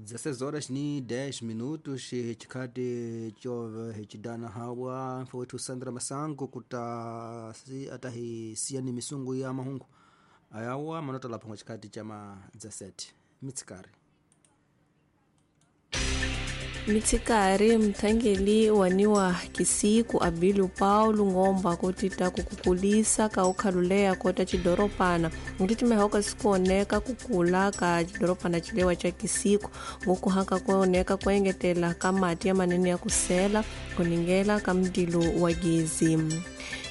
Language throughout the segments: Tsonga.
16 horas ni 10 minutos chikati chove hichidana hawa mfowethu Sandra Masango kuta si atahi siyani misungu ya mahungu ayawa manota lapho chikati chama 17 mitsikari. Mitsikari mthangeli waniwa kisiku Abilio Paulo ngomba kutita kukukulisa ka ukhaluleya kota cidoropana ngutitimehoka sikuoneka kukula ka cidoropana cilewa ca kisiku ngukuhaka kuoneka kuengetela ka mati ya manene ya kusela kuningela ka mdilo wa gezi.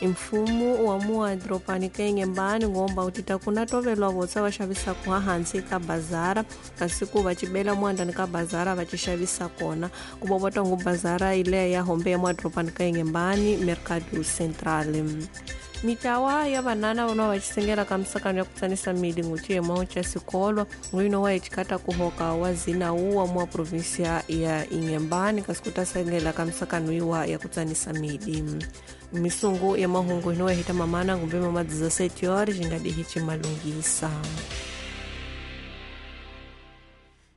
Mfumo wa muadropani kainghembani ngomba utita kuna tovelwa votsa va xavisaka hansi ka bazara kasi ku va cibela muandani ka bazara va ci xavisa kona ku vovota ngu bazara ileya ya hombe ya muadropani kainghembani Mercado Central. Mitawa ya vanana vona va cisengela ka misakano ya kutsanisa mili nguciyemao ca sikolo ngwino wa icikata kuhoka wa zina uwa mua provinsia ya Inhambane kasi kutasengela ka misakano iwa ya kutsanisa mili. Misungu ya mahungu ino yahita mamana ngumbe mama 17 horas ngadihi cimalungisa.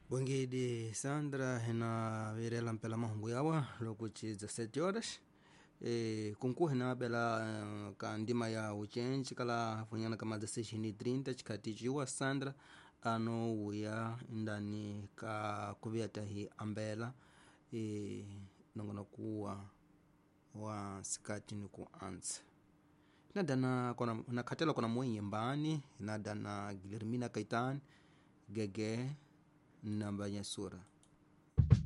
Bwengidi Sandra hina virela mpela mahungu yawa lokuchi 17 horas. Kunku hina bela ka ndima ya uchenji kala funyana kama 16:30 chikati chiwa Sandra ano uya ndani ka kuviata hi ambela nongona kuwa wa sikati ni kuanza nadana kona nakhatela kona mwenyembani nadana Guilhermina Caetano gege namba nyasura.